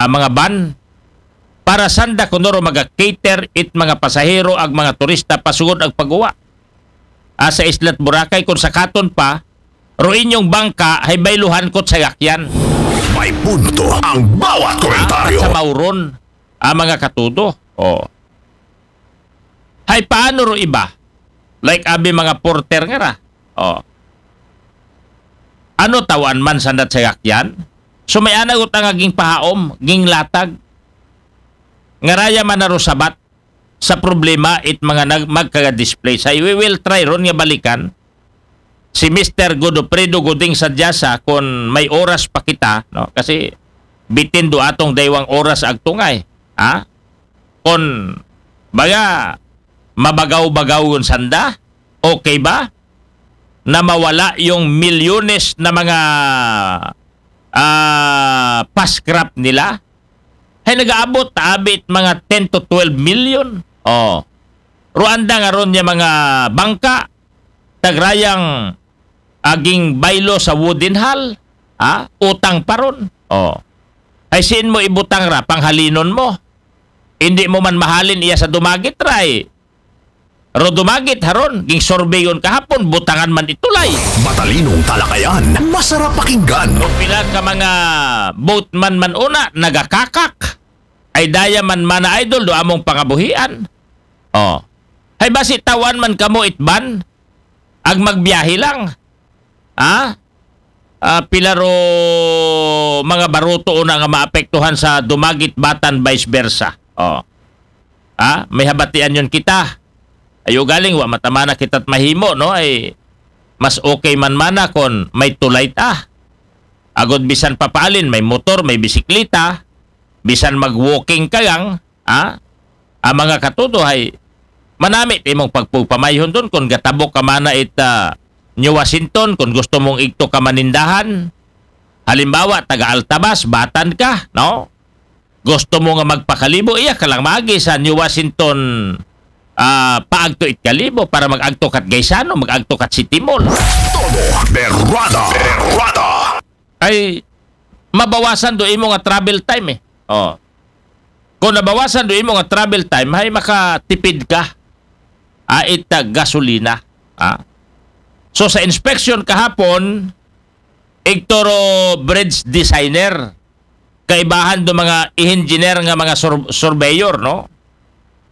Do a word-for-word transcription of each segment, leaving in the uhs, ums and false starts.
ang mga van, para sanda kuno ro maga-cater it mga pasahero, ag mga turista pasugod ag paguwa. Ah, sa Isla't Boracay, kon sakaton pa, ro inyong bangka, hay bayluhan ko't sayakyan. May punto ang bawat komentaryo. Sa mauron, ah, mga katudo. Oh. Hay paano ro iba? Like abi mga porter nga ra. Oh. Ano, tawan man sanda't sayakyan? So may-ana gud nga ginpahaom, ginglatag. Nga raya man na ro sabat sa problema it mga nag-, magkaga-display. Say, we will try ron nga balikan si Mister Godofredo Goding Sadyasa kon may oras pa kita, no? Kasi bitin do atong daywang oras agtungay. Ha? Kon baga mabagaw-bagaw yun sanda, okay ba? Na mawala yung milyones na mga, ah, paskrap nila? Hay nagaabot, abit mga ten to twelve million. Oh. Rwanda nga ron niya mga bangka, tagrayang aging baylo sa wooden hull, ha? Utang pa ron. Oh. Ay, siin mo ibutang ra, panghalinon mo. Hindi mo man mahalin iya sa dumagit ra, eh. Ro dumagit haron, ging surveyon kahapon, butangan man itulay. Matalinong talakayan, masarap pakinggan. O pila ka mga boatman man una, nagakakak. Ay daya man mana idol, do among pangabuhian. Oh. Hay basi tawan man kamo itban, ag magbiyahe lang. Ha? Ah, pila ro mga baruto una nga maapektuhan sa dumagit batan vice versa. Oh. Ha? May habatian yun kita. Ayo galing, wa matamana kita't mahimo, no? Ay, mas okay man mana kon may tulay ta. Agod bisan papaalin, may motor, may bisiklita, bisan mag-walking ka lang, ha? Ang mga katudo hay manamit imong pagpupamayhon doon kung gatabok ka mana it ah, New Washington, kung gusto mong igto ka manindahan. Halimbawa, taga Altabas, batan ka, no? Gusto mo nga magpakalibo, iya ka lang maagi sa New Washington ah, paagto it Kalibo para mag-agto kat Gaisano, mag-agto kat City Mall. Todo berrada. Berrada. Ay mabawasan do imo nga travel time eh. Oh. Kung nabawasan do imo nga travel time, hay makatipid ka. Ah, ita gasolina. Ah. So sa inspection kahapon, igto ro bridge designer, kaibahan do mga engineer nga mga sur- surveyor, no?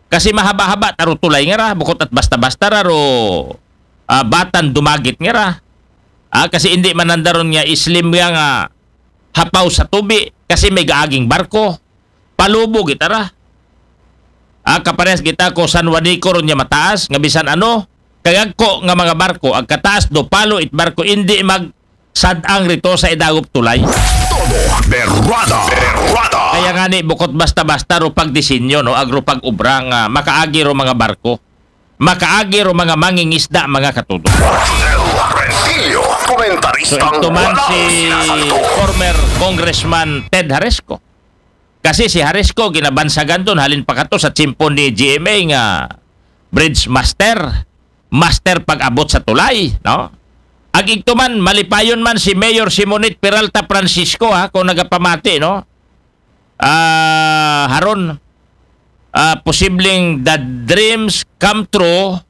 Kasi mahaba-haba ta ro tulay nga ra, bukot at basta-basta ra ro ah, batan dumagit nga ra. Ah, kasi hindi man nanda ron nga islim nga nga hapaw sa tubi kasi may gaaging barko. Palubo gitara. Ah, kaparehas gita ko San Juanico ron nga mataas nga bisan ano, kagagko nga mga barko, agkataas do palo it barko, hindi mag sadang rito sa idagop tulay. Todo berrada. Berrada. Kaya nga ni bukot basta-basta ro pagdisenyo, no, agro pag-ubra nga makaagi ro mga barko. Makaagi ro mga mangingisda, mga katudo. Rentillo, So komentaristang ito man walang si sinasalto. Former Congressman Ted Haresco. Kasi si Haresco ginabansagan doon halin pa kato sa tsimpo ni G M A nga bridge master, master pag-abot sa tulay, no? Ag igto man, malipayon man si Mayor Simonit Peralta Francisco, ha, kung nagapamati, no? Ah, haron, ah, posibleng the dreams come true,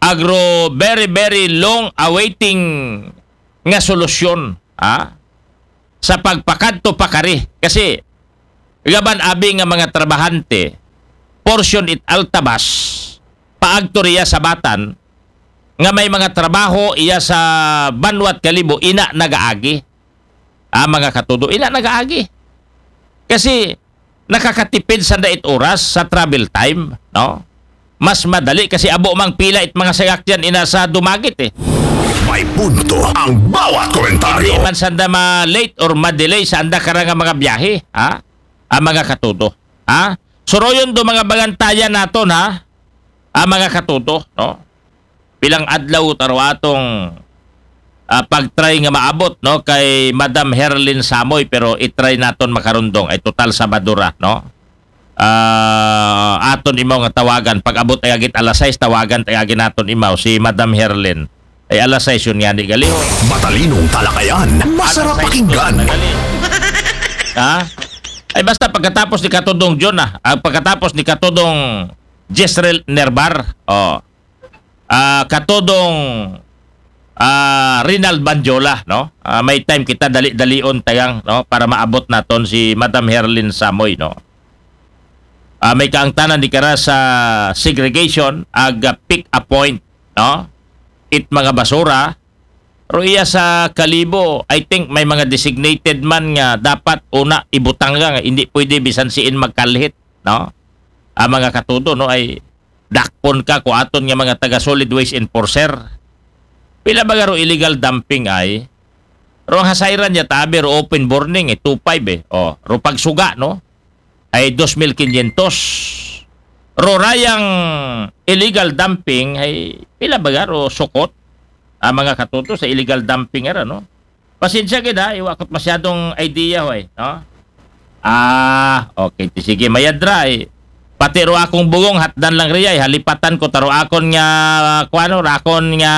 agro very, very long awaiting nga solusyon, ha? Sa pagpakadto pa kari. Kasi, gaban abi nga mga trabahante, portion it Altabas, paagto riya sa Batan, nga may mga trabaho iya sa banwat Kalibo, ina nagaagi. Ah, mga katudo, ina nagaagi. Kasi, nakakatipid sa dait oras sa travel time, no? Mas madali kasi abo mang pila it mga sayakyan ina sa dumagit eh. May punto ang bawat Hindi komentaryo. man sanda ma-late or ma-delay sa anda karang nga mga biyahe, ha? Ang mga katudo, ha? Suroyon do mga bangantayan naton, ha? Ang mga katudo, no? Pilang adlaw taro atong ah, pag-try nga maabot, no, kay Madam Herlin Samoy, pero i-try naton makarundong ay total Sabado ra, no? Ah, aton imaw nga tawagan pag-abot ay agit alas sais, tawagan tay agi naton imaw si Madam Herlin. Ay alas sais yun nga ni gali. Matalinong talakayan, masarap pakinggan. Ha? Ay, basta pagkatapos ni Katodong John, ah, ah, pagkatapos ni Katodong Jezreel Nerbar, oh, ah, Katodong, ah, Rinald Banjola, no? Ah, may time kita dali-dalion tagang, no, para maabot naton si Madam Herlin Samoy, no? Ah, may kaangtanan di kara sa segregation, ag, ah, pick a point, no? It mga basura, pero iya sa Kalibo, I think may mga designated man nga dapat una ibutang nga, hindi pwede bisan siin magkalhit, no? Ang mga katudo, no, ay dakpon ka ko aton nga mga taga solid waste enforcer. Pila ba garo illegal dumping ay? Ro ang hasayran niya tabi, ro open burning, eh, two five eh. Oh, ro pagsuga, no? Ay dos mil quinientos. Ro rayang illegal dumping ay pila ba garo sukot? Ang mga katuto sa illegal dumping era, no? Pasensya gid ha, iwa ko't masyadong idea, hoy, no? Ah, okay, ti sige, mayadra, eh. Pati ro akong bugong, hatdan lang riya, eh. Halipatan ko, taro akon nga, kuano, rakon nga,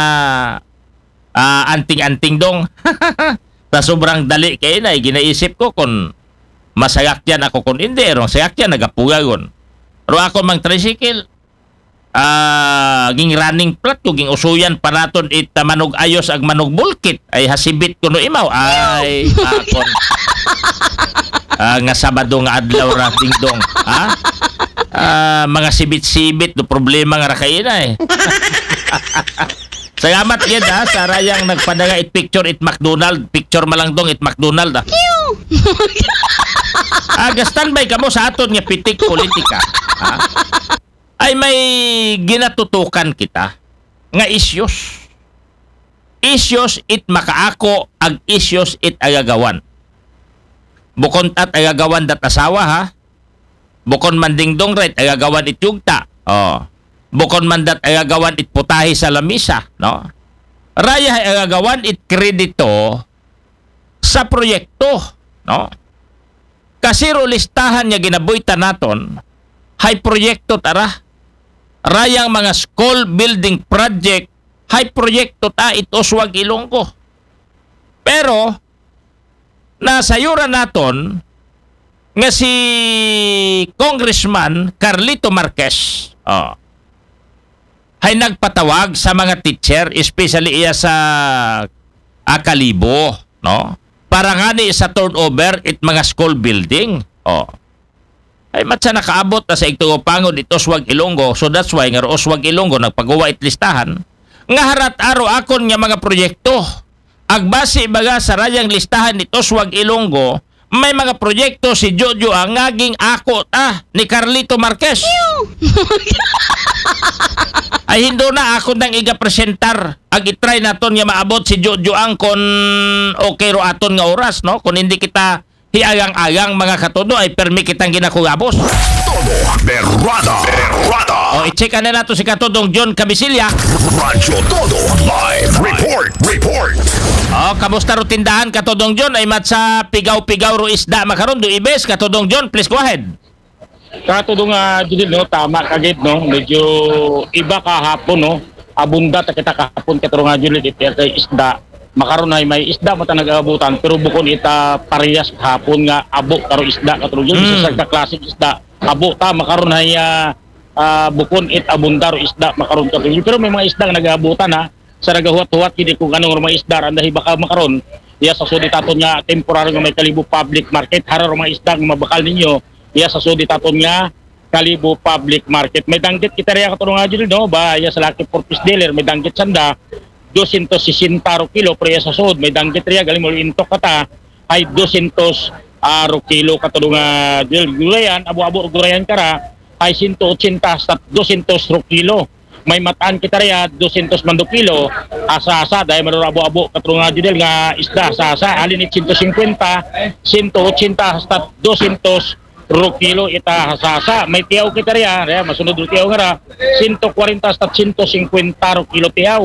ah, anting-anting dong. Sa sobrang dali kay na, eh, ginaisip ko kung masagakyan ako kung hindi, rong sagakyan, nagapugagon. Ro akon mang tricycle, ah, ging running flat ko, ging usuyan pa naton it, ah, manog ayos ag manog bulkit. Ay, hasibit ko no imaw. Ay, akon. Ah, nga Sabado nga adlaw ra, dingdong. Ha? Ah, mga sibit-sibit, do problema nga ra kaina eh. Salamat gid ha, sa rayang nagpadala it picture it McDonald. Picture malang dong it McDonald, ah. Ah, ga-standby kamo sa aton nga pitik politika. Ha? Ay may ginatutukan kita nga issues. Issues it makaako ag issues it agagawan. Bukon tat agagawan dat asawa, ha. Bukon man dingdong ret agagawan it yugta. Oh. Bukon man dat agagawan it putahe sa lamisa, no. Raya ay agagawan it kredito sa proyekto, no. Kasi ro listahan nga ginaboyta naton, hay proyekto tara. Rayang mga school building project, hay proyekto ta it Oswag Ilonggo. Pero, nasayuran naton nga si Congressman Carlito Marquez, oh, hay nagpatawag sa mga teacher, especially iya sa Akalibo, no? Para ngani sa turnover it mga school building. Oh. Ay matsa nakaabot na sa igtugo pangod it Oswag Ilonggo. So that's why nga ro Oswag Ilonggo nagpagawa it listahan. Nga harat aro akon nga mga proyekto. Agbasi baga sa rayang listahan it Oswag Ilonggo, may mga proyekto si Jojo ang ngaging ako ta ni Carlito Marquez. Ay hindo na ako nang igapresentar. Ag itry naton nga maabot si Jojo ang kon okay ro aton nga oras, no? Kon hindi kita hiagang-agang mga katudo ay permi kitang ginakugabos. Todo Berrada. Berrada. O, i-check na nato si Katudong John Kabisilya. Radyo Todo Live Report. Report. O, kamusta ro tindahan, Katudong John? Ay matsa pigaw-pigaw ro isda makaron, do ibes, Katudong John, please go ahead. Katudong, ah, Judil, no, tama ka gid, no, medyo iba kahapon, no, abunda ta kita kahapon, Katudong, ah, Judil, it kay isda. Makaron ay may isda mata nag-aabutan, pero bukon ita parehas kahapon nga abo karo isda, Katudong, Judil, sa, mm, sa klaseng isda. Abo ta, makaron ay, ah, ah, bukon it abunda ro isda makaron, Katudong, Judil. Pero may mga isda nga nag-aabutan, ha. Sa nagahuwat-huwat gid kung anong mga isda randa hibaka makaron. Iya sa sudi taton nga temporary nga may Kalibo Public Market, hara ro mga isda nga mabakal ninyo. Iya sa sudi taton nga Kalibo Public Market. May danggit kita riya, Katudong, ah, Judil, no? Ba, iya sa Lucky Four Piece Dealer, may danggit sanda, dosyentos sesenta ro kilo, pero iya sa sud, may danggit riya, galing mo intok kata, ay dosyentos, ah, ro kilo, Katudong, ah, Judil. Gulayan, abo-abo ro gulayan kara, ay sento otsenta hasta dosyentos ro kilo. May matan kita riya, dosyentos man do kilo, asa-asa, dahil man ro abo-abo, Katudong, ah, Judil, nga isda, asa-asa, halin it sento singkwenta, sento otsenta hasta dosyentos ro kilo ita asa-asa. May tiyaw kita riya, riya, masunod ro tiyaw nga ra, sento kwarenta hasta sento singkwenta ro kilo tiyaw.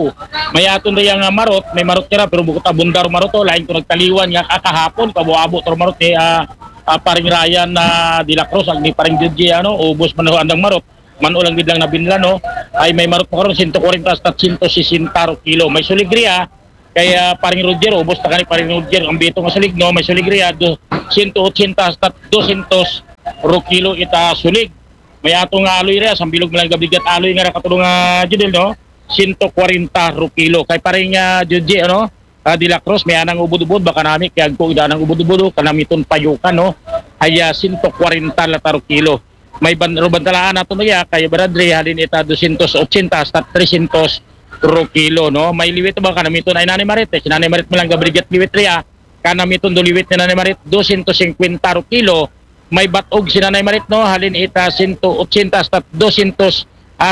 May aton riya nga marot, may marot kara, pero bukon ta abunda ro marot, o, lain ko nagtaliwan nga kakahapon, kabo-abo ro marot ni, ah, ah, Paring Ryan na De La Cruz, ag ni Paring Judge, ano, ubos man ho andang marot. Man-o lang gid lang nabinlan, no? Ay may marot makaron, sento kwarenta hasta sento sesenta ro kilo. May sulig riya, kay, ah, Paring Roger, ubos ta kani Paring Roger, ang bito nga sulig, no? May sulig riya, do, sento otsenta hasta dosyentos ru kilo ita sulig. May ato nga aloy ria, sambilog man lang gabigat aloy nga ra katulong nga Judel, no? Sento kwarenta ru kilo. Kay paring nga Judge, ano? Ah, De La Cruz, may anang ubod-ubod, baka nami, kay agko ida nang ubod-ubod, oh, kanamiton payukan, no? Ay, ah, sento kwarenta lata ru kilo. May ban-, ro bantalaan nato na iya, kay Brad Ray, halin ita dosyentos otsenta hasta tresyentos ru kilo, no? May liwit ba kanamiton ay Nanay Marit, eh, si Nanay Marit man lang gabrigat liwit ria, kanamiton do liwit ni Nanay Marit, dosyentos singkwenta ru kilo. May batog si Nanay Marit, no? Halin ita sento otsenta hasta dosyentos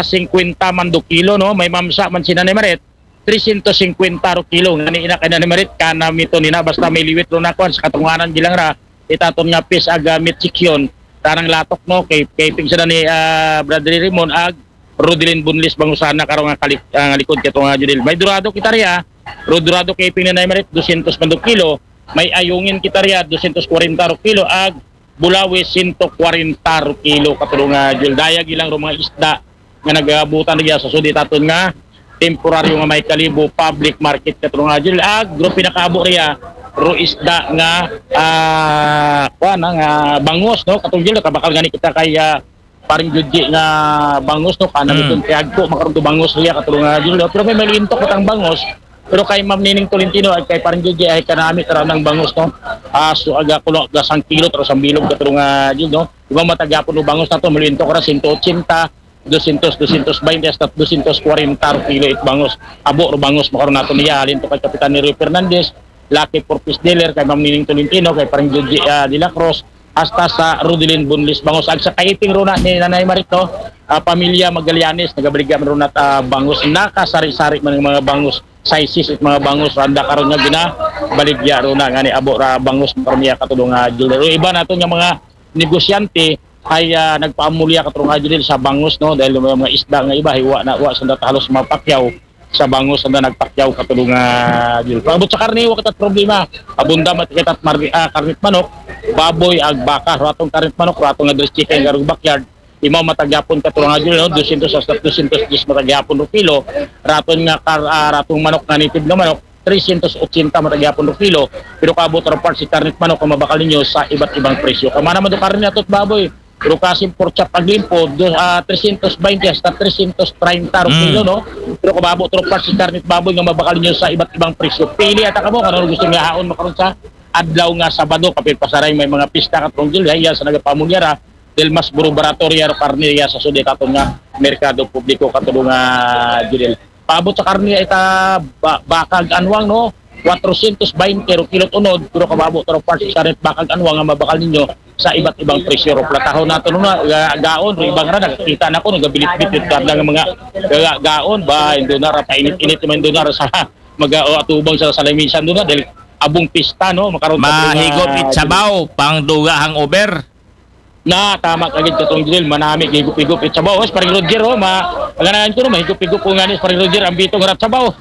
singkwenta man do kilo, no? May mamsa man si Nanay Marit, tresyentos singkwenta ru kilo. Ngani ina kay Nanay Marit, kanamiton ina, basta may liwit ro na kuan sa katunganan bilang ra, itaton nga pis aga meat section, tanang latok, no? Kay, kay pigsa na ni, ah, Brad Ray Raymond, ag Rodelin Bunlis Bangos na karo nga kalik-, ah, nga likod kato nga Judel. May dorado kita ria, ro dorado kay ping ni Nanay Marit, dosyentos man do kilo. May ayungin kita ria, dosyentos kwarenta ru kilo, ag bulawi, sento kwarenta ru kilo, katulong nga Judel. Dayag ilang ro mga isda nga nagabutan ria sa sud itaton nga temporaryo nga may Kalibo public market, katulong nga Judel. Ag ro pinakaabo ria, ro isda nga, ah, kuan na, nga bangos, no? Katulong Judel, kabakal gani kita kay, ah, paring Judge nga bangos, no? Kanamiton kay agko makaron do bangos ria, katulong nga Judel. Pero may malintok matang bangos. Pero kay Ma'am Nining Tolentino, ay kay paring Judge, ay kanami tara nang bangos, no? Ah, so aga kulo, aga sang kilo, tara sang bilog, katulong nga Judel, no? Iba matagyapon do bangos nato, malintok ra sento otsenta, dosyentos, dosyentos baynte, hasta dosyentos kwarenta ro kilo it bangos. Abo ro bangos makaron nato niya, halin to kay Kapitan Neroy Fernandez, Lucky Four Piece Dealer, kay Ma'am Nining Tolentino, kay paring Judge, ah, De La Cruz, hasta sa Rodelin Bunlis Bangos. Ag sa kaiping ro na ni Nanay Marit, no? Ah, pamilya Magallanes, nagabaligya man ro na, ah, bangos. Nakasari-sari man ang mga bangos, sizes it mga bangos, randa karon nga ginabaligya ro na, ngani abo ra bangos, parmiya katulong nga Judel. Iba nato nga mga negosyante ay, ah, nagpaamulya katulong nga Judel sa bangos, no? Dahil may mga isda nga iba, hiwa na, wa sanda halos mapakyaw sa bangos sanda nagpakyaw katulong nga Judel. Paabot sa karne, wa kita problema. Abunda man kita mar-, ah, karnit manok, baboy, ag baka, ratong karnit manok, ratong nga dress chicken, garog backyard. Imaw matagyapon katulong nga Judel, no? Dosyentos hasta dosyentos diyes matagyapon ro kilo. Raton nga kar-, ah, ratong manok nga native nga manok, tresyentos otsenta matagyapon ro kilo. Pero kaabot ra part si karnit manok nga mabakal ninyo sa iba't ibang presyo. Kamana man do karne atot baboy, pero kasim pork chop ag limpo, do, ah, tresyentos baynte hasta tresyentos treinta ro kilo, no? Pero kaabot ra part si karnit baboy nga mabakal ninyo sa iba't ibang presyo. Pili ata kamo kung ano gusto nga haon makaron sa adlaw nga Sabado, kapit pasaray may mga pista katulong Judel, iya sa nagapamulya ra, dahil mas buro barato ria ro karne ria sa sud itaton nga merkado publiko katulong nga Judel. Paabot sa karne ita ba-, bakag anwang, no? Kwatrosyentos baynte ro kilot unod, pero kaabot ra part sa karne bakag anwang nga mabakal ninyo sa iba't ibang presyo ro. Platahon nato, no, na, ga-, gaon ro ibang ra, nakakita na ko, nagabilit-bit it kadla nga mga ga-, gaon ba, indo na ra, painit-init man indo na ra sa maga-, o, atubang sa, sa lamisan do na, dahil abong pista, no? Makaron ta, mga Mahigop it sabaw, pangduga hangover. Na, tama ka gid katong Judel, manami higop-higop it sabaw. Oh, si Paring Roger, oh, ma-, ganahan ko, no, mahigop-higop ko ngani si Paring Roger, ang bitong harap sabaw.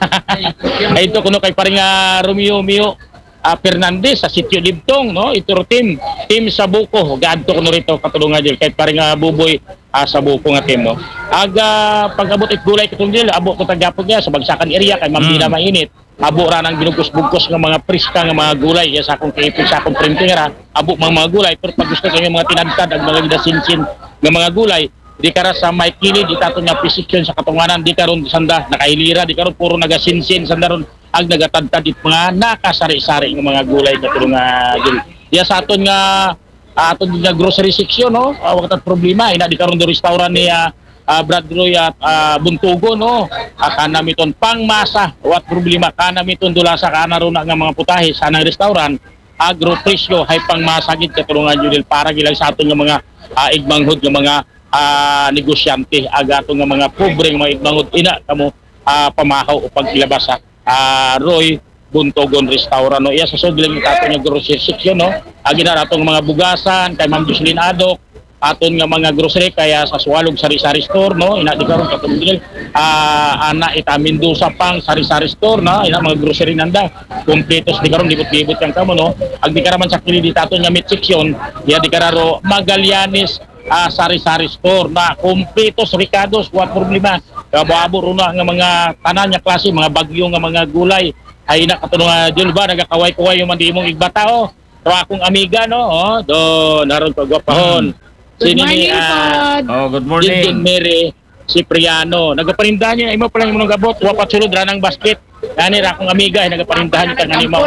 Ay, ito kuno kay Paring, ah, Romeo Mio, ah, Fernandez sa Sitio Libtong, no? Ito ro team, team sa Buko, gaadto kuno rito, katulong nga Judel, kay Paring, ah, Buboy, ah, sa Buko nga team, no? Aga, pag-abot it gulay katong Judel, abo ko tagyapon niya sa Bagsakan area, kay Ma'am Dina Mainit. Abo ra nang binugkos-bugkos nga mga priska nga mga gulay, iya sa akong kaipig, sa akong printing ra, abo mga, mga gulay, pero pag gusto kayo mga tinadtad, ang mga gidasinsin nga mga gulay, di kara sa may kilid, itaton nga position sa katunganan, di karon sanda, nakahilira, di karon puro nagasinsin, sanda ron, ag nagatadtad it mga nakasari-sari nga mga gulay, katulong nga Judel. Iya sa aton nga, ah, aton nga grocery section, no? Ah, wa ta problema, ina di karon do restaurant ni, ah, ah, Brad Roy at, ah, Buntugo, no? Ah, kanamiton pangmasa, wat problema, kanamiton dulasa, kana ro na nga mga putahe sa nang restaurant, agro presyo, hay pangmasa gid, katulong nga Judel, para gilang sa aton nga mga, ah, igmanghod nga mga, ah, negosyante, aga aton nga mga pobre nga mga igmanghod, ina kamo, ah, pamahaw o pagilabas sa ah, Roy Buntogon Restaurant, no? Iya sa sud lang itaton nga grocery section, no? Agi na atong mga bugasan, kay Ma'am Jocelyn Adok, aton nga mga grocery, kaya sa Sualog Sari-Sari Store, no? Ina di karon katong dili, ah, ana ita Mendoza pang Sari-Sari Store, no? Ina mga grocery nanda. Kompletos di karon, libot-libot yang kamo, no? Ag di karaman sa kilid itaton nga meat section, iya di kararo Magallanes, ah, Sari-Sari Store na kompletos, rekados, wa problema. Kabo-abo ro na nga mga tanan nga klase, mga bagyo nga mga gulay. Ay na katulong nga Judel ba, nagakaway-kaway yung mandimong igbata, oh. Pero akong amiga, no? Oh, do, naron pagwapahon. Good morning, ah, Pod. Oh, good morning. Mary Cipriano. Nagaparindahan niya, imo pala yung nagabot, wa pa sulod, ranang basket. Ani ra akong amiga, ay nagaparindahan ka nga nimo.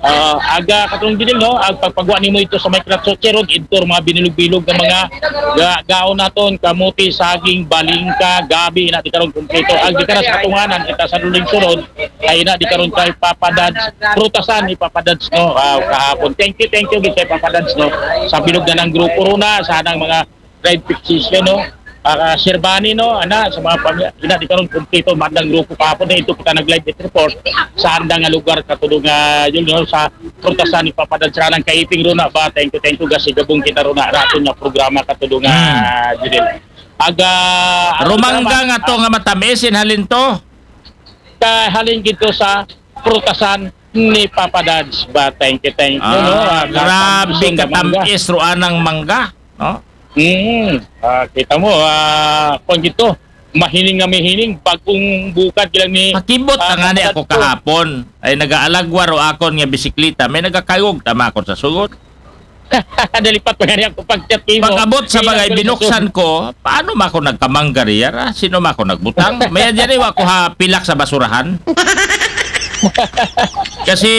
Ah, aga katong gidil, no? Ag pagpagwa nimo ito sa may kratso, cherog, ito mga binilog-bilog nga mga ga gaon naton, kamuti, saging, balingka, gabi, ina di karon kumpleto. Ag di ka na sa katunganan, kita sa luling sunod, ay ina di karon kay Papa Dads, prutasan ni Papa Dads, no? Ah, kahapon. Thank you, thank you gid kay Papa Dads, no? Sa bilog na ng grupo runa, sa anang mga drive fixation, no? Para Sir Bani, no? Ana, sa mga pamilya, ina di karon kumpleto, madang grupo kahapon na ito kita nag-live report sa andang nga lugar katulong nga yun, no? Sa prutasan ni Papa Dads, sa anang kaiping runa ba? Thank you, thank you, gasi gabong kita runa, raton nga programa katulong nga Judel. Aga, Rumangga nga to nga matamis, in halin to? Kahalin gito sa prutasan ni Papa Dads ba? Thank you, thank you, no? Ah, Ah, grabe tapos yung mangga. Katamis ro anang mangga, no? Mm. Ah, kita mo, ah, kung gito, mahining nga mahining, bagong bukad kilang ni Pakibot ah, na nga ni ako Papa Dads. Kahapon. Ay nagaalagwa ro akon nga bisikleta. May nagakayog tama ako sa sugot. Nalipat pa nga niya ako pag-chat mo. Pag-abot sa bagay, binuksan ko, paano ma ako nagkamangga riya ra? Sino ma ako nagbutang? May dyan wa ko ha pilak sa basurahan. Kasi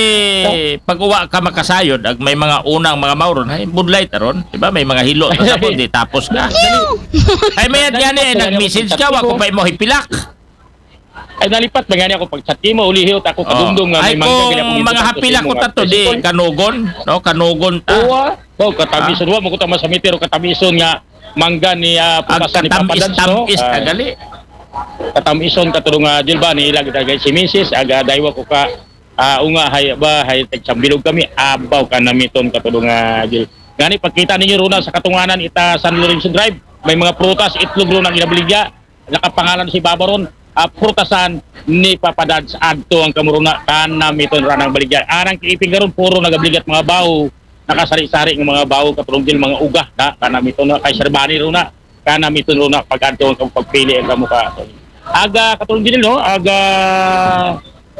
pag uwa ka makasayod, ag may mga unang mga mauron, ay budlay taron, di ba? May mga hilo na sa di tapos ka. Ay may yan eh, nag-message ka, wa ko pa imo hipilak. Ay, nalipat ba nga niya ako pag-chat mo, ulihi ta ako kadumdum nga Ay may mangga kung kaya akong mga gibutang sa hapilak imo ko nga tato, di president. Kanugon, no? Kanugon ta. Oo, ah. Oh, katamison, wa mo ko tama sa mitiro, katamison nga mangga ni ah, Ag putasan ni Papa tamis, Dads, no? tamis, Ah, agali. Katamison katulong nga Jil ba ni ilag dagay si Misis, aga daywa ko ka ah, unga hay ba hay tagsambilog kami, abaw ka namiton katulong nga Jil. Ngani pagkita ninyo runa sa katunganan ita San Lorenzo Drive, may mga prutas, itlog ron ang inabaligya, nakapangalan si Baba ron, ah, prutasan ni Papa Dads, adto ang kamuruna, kanamiton ranang baligya. Anang kiiping karon puro nagabaligya mga bawo, nakasari-sari ng mga bawo katulong Jil, mga uga, na kanamiton na kay Sir Bani runa. Kanamiton runa pag-adto ang pagpili ang kamuka. Aga katulong din, no? Aga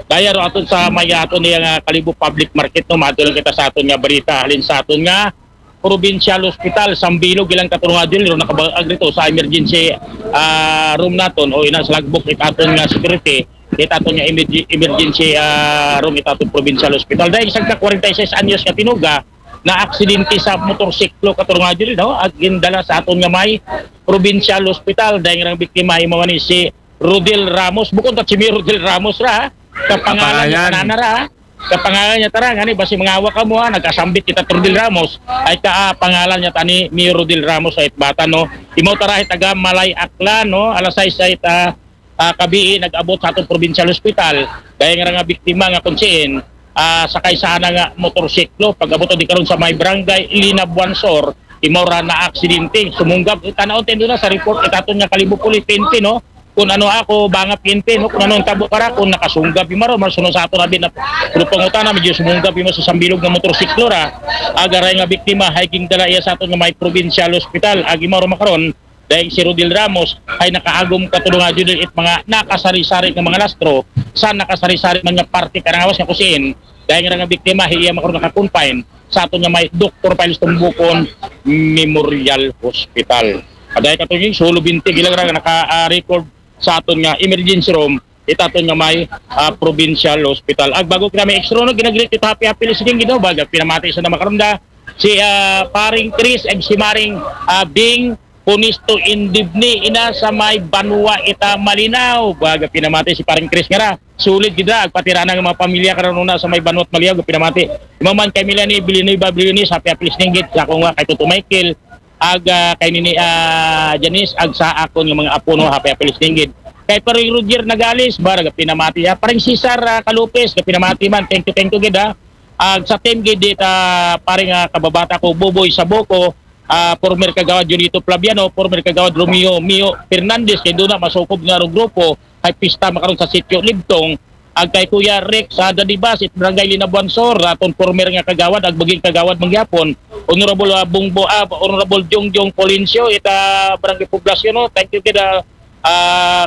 kaya ro aton sa may aton niya nga Kalibo Public Market, no? Maadto lang kita sa aton nga balita halin sa aton nga Provincial Hospital, Sambilog, ilang katulong nga Jil, ro nakabag rito sa emergency ah, room naton o ina sa logbook it aton nga security, it aton nga emerg- emergency ah, room it aton Provincial Hospital. Dahil isang ka forty-six anyos nga tinuga, na aksidente sa motorsiklo katulong nga Jil, no? Ag gindala sa aton nga may Provincial Hospital, dahil nga biktima imo ni si Rodel Ramos, bukod ta si Mayor Rodel Ramos ra, ha? Kapangalan niya Kapangalan. Tanana ra, ha? Kapangalan niya tara, ngani basi mangawa ka mo ha, nagkasambit kita Rodel Ramos, ay ka ah, pangalan niya tani Mayor Rodel Ramos ay bata, no? Imaw tara ay taga Malay Aklan, no? Alas sais ay ta ah, kabii nag-abot sa atong provincial hospital, dahil nga nga biktima nga kung siin, ah, sakay sana nga motorsiklo, pag-abot di karon sa may barangay Linabuan Sur, imaw ra na aksidente, sumunggab, tanaw tendo na sa report itaton nga Kalibo Police P N P, no? Kung ano ako, banga P N P, no? Kung ano ang tabo para, kung nakasunggab yung maro, maro sunod sa ato na din na, pero pangutana, medyo sumunggab yung sa sambilog nga motorsiklo ra, agaray nga biktima, hiking dala iya sa aton nga may provincial hospital, agi maro makaron, dahil si Rodel Ramos ay nakaagom katulong nga Judel it mga nakasari-sari nga mga lastro sa nakasari-sari man nga parte karangawas nga kusiin, dahil nga nga biktima, hiya makaroon naka-confine sa aton nga may Doktor Piles Tumbukon Memorial Hospital. Aday katong yung solo binti, ilang ra nga naka-record sa aton nga emergency room, itaton nga may ah, provincial hospital. Ag bago kita may extra, no, ginagrit ito happy happy listening gid, no, baga pinamati sa na makaroon da si ah, paring Chris ag si maring ah, Bing Punisto Indibni ina sa may banwa ita Malinaw. Baga pinamati si paring Chris nga ra. Sulit gid ra, ag pati ra nga mga pamilya karon una sa may banwa Malinaw, pinamati. Imaman kay Melanie Villanueva Briones, happy happy listening gid sa akong nga kay Tuto Michael, ag ah, kay Nini ah, Janice, ag sa akon nga mga apo, no, happy happy listening gid. Kay paring Roger Nagales, ba, pinamati, ah, paring Cesar ah, Calupes, pinamati man, thank you, thank you gid, ha. Ag sa team gid dit ah, paring ah, kababata ko, Boboy Saboko, ah, former kagawad Junito Flaviano, former kagawad Romeo Mio Fernandez, kay doon na masukob nga rong grupo, ay pista makaroon sa Sitio Libtong, ag kay Kuya Rick sa Dadibas, it Barangay Linabuan Sur, aton former nga kagawad, ag maging kagawad mangyapon, Honorable ah, Bungbo, ah, Honorable Jongjong Polencio, ita Barangay Poblacion, no? Thank you kid ah,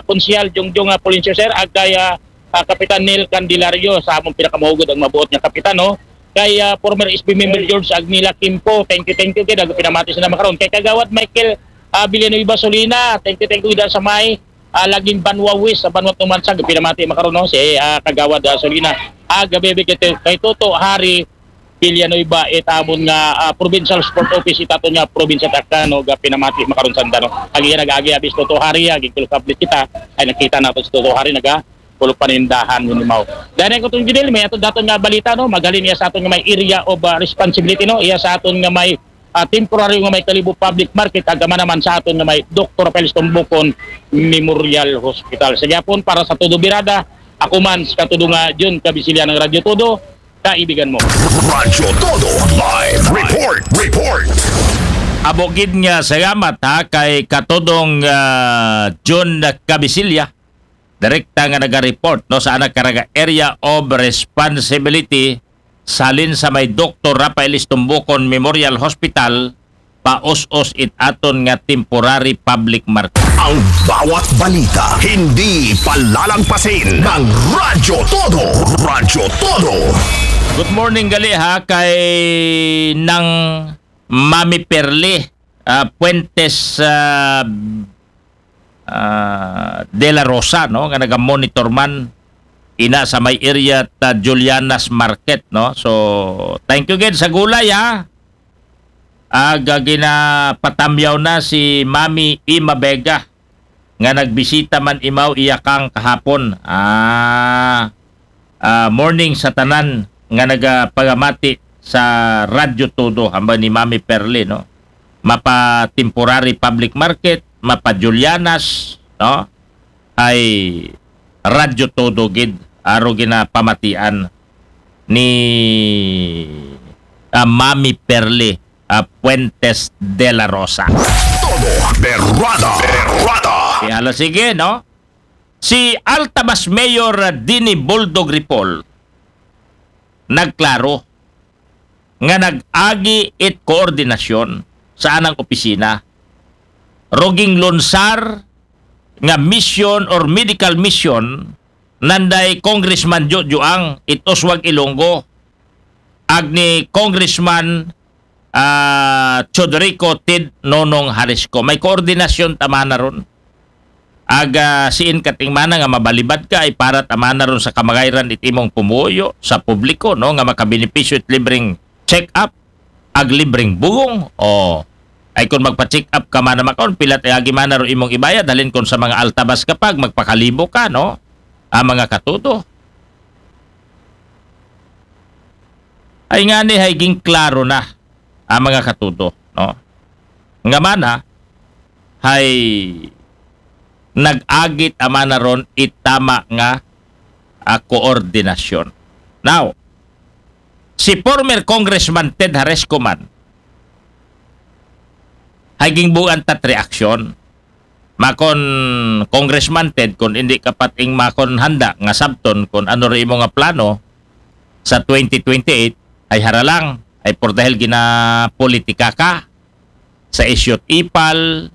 Konsehal Jongjong ah, Polencio, sir, ag kay ah, ah, Kapitan Neil Candelario, sa among pinakamahugod ang mabuot nga kapitan, no? kay ah, former S B member George Agnila Kimpo. Thank you, thank you kay dago pinamati sa makaron. Kay Kagawad Michael ah, Villanueva Solina, thank you, thank you da sa may ah, laging Banwa West, sa Banwa Tumansag, pinamati makaron, no? Si ah, Kagawad ah, Solina. Ah, gabi kay, kay Toto Hari Villanueva, it amon nga ah, provincial sport office, it aton nga probinsya ta Aklan, no? Ga pinamati makaron sanda, no? Agi nag-agi abis Toto Hari, agi kulog update kita, ay nakita nato si Toto Hari naga kulog panindahan yun, mao. Dahil ko itong Judel, may ato daton nga balita, no? Maghalin iya sa aton nga may area of ah, responsibility, no? Iya sa aton nga may ah, temporary nga may Kalibo Public Market, agama naman sa aton nga may Doktor Rafael Tumbukon Memorial Hospital. Sa gyapon, para sa Todo Birada, ako man sa katudo nga Jun Kabisilya ng Radyo Todo, kaibigan mo. Radyo Todo Live Report. Report. Amo gid nga salamat ha kay katudong ah, Jun Kabisilya, direkta nga naga-report, no, sa anak karaga area of responsibility salin sa may Doktor Rafael Tumbukon Memorial Hospital, paus-os it aton nga temporary public market. Ang bawat balita, hindi palalagpasin ng Radyo Todo. Radyo Todo. Good morning gali ha kay nang Mami Perli ah, Puentes ah, ah, De La Rosa, no, nga naga-monitor man ina sa may area ta Juliana's Market, no. So, thank you gid sa gulay ha. Aga ginapatamyaw na si Mami Ima Vega nga nagbisita man imaw iya kang kahapon. Ah, ah, morning sa tanan nga nagapagamati sa Radyo Todo, hambal ni Mami Perli, no? Mapa temporary public market, mapa Julianas, no? Ay Radyo Todo gid, aro ginapamatian ni ah, Mami Perli ah, Puentes de la Rosa. Todo Berrada. Berrada. Kaya hala, sige, no? Si Altabas Mayor Dini Boldog Ripoll nagklaro nga nag-agi it koordinasyon sa anang opisina. Ruging lunsar nga mission or medical mission nanday Congressman Jojo Ang it Oswag Ilonggo ag ni Congressman ah, Chodorico Ted Nonong Harisco. May koordinasyon ta mana ron. Aga siin kating mana nga mabalibad ka ay para ta mana ron sa kamagayran it imong pumuyo sa publiko, no, nga makabenepisyo it libreng check-up ag libreng bugong. O ay kung magpa-check up ka mana makaon, pilat ay agi mana ron imong ibayad, halin kung sa mga altabas ka pag magpakalibo ka, no? Ah, mga katudo. Ay ngani hay gingklaro na ang mga katudo, no? Nga mana hay nag-agit amana ron itama nga ah, koordinasyon. Now, si former Congressman Ted Haresco man hay gingbugan tat reaksyon. Makon Congressman Ted, kung hindi kapat ing makon handa nga sabton kung ano rin imo nga plano sa twenty twenty-eight, ay haralang, ay por dahil ginapolitika ka sa issue ipal,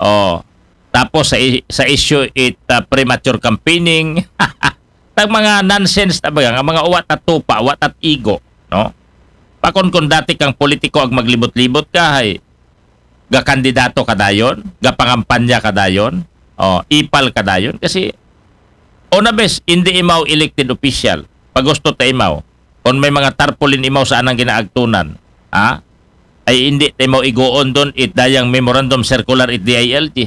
oh, tapos sa, sa issue it uh, premature campaigning, tag mga nonsense na baga, nga mga uwat at tupa, uwat at igo, no? Pakon kung dati kang politiko ag maglibot-libot ka, hay gakandidato ka dayon, gapangampanya ka dayon, oh, ipal ka dayon, kasi on a bes, hindi imaw elected official, pagusto ta imaw, kung may mga tarpaulin imaw sa anang ginaagtunan, ha? Ay hindi ta imaw igoon doon it dayang memorandum circular it D I L G.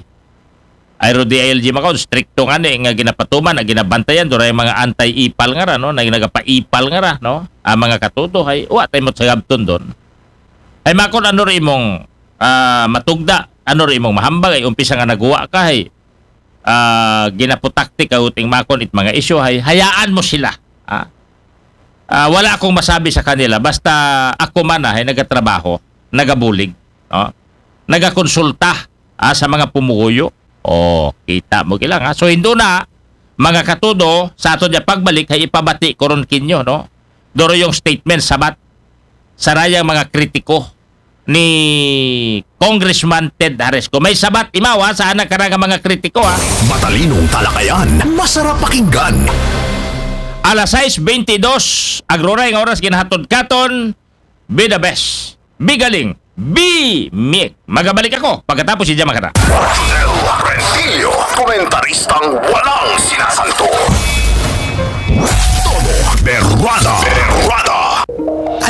Ay ro D I L G makaon, stricto nga ni nga ginapatuman, ang ginabantayan doon ay mga anti-ipal nga ra, no? Na nagapaipal nga ra, no? Ang mga katuto, ay wa tayo mo sagabton doon. Ay makon ano rin imong ah, matugda, ano rin imong mahambag, ay umpisa nga naguwa ka, ay ah, ginaputaktik ka uting makon it mga isyu, ay hayaan mo sila. Ah, ah, wala akong masabi sa kanila, basta ako man ay nagatrabaho, nagabulig, no? Nagakonsulta ah, sa mga pumuyo. Oh, kita mo kila nga. So, indo na, mga katudo, sa ato niya pagbalik, ay ipabati ko ron kinyo, no? Doro yung statement sabat sa rayang mga kritiko ni Congressman Ted Haresco. May sabat imaw ha, sa anak karang mga kritiko ha. Matalinong talakayan, masarap pakinggan. alas sais bente dos, agroray nga oras ginahatod katon. Be the best. Be galing. Be me. Magabalik ako pagkatapos si Jamakata. Rodel Rentillo, komentaristang walang sinasanto. Todo Berwada.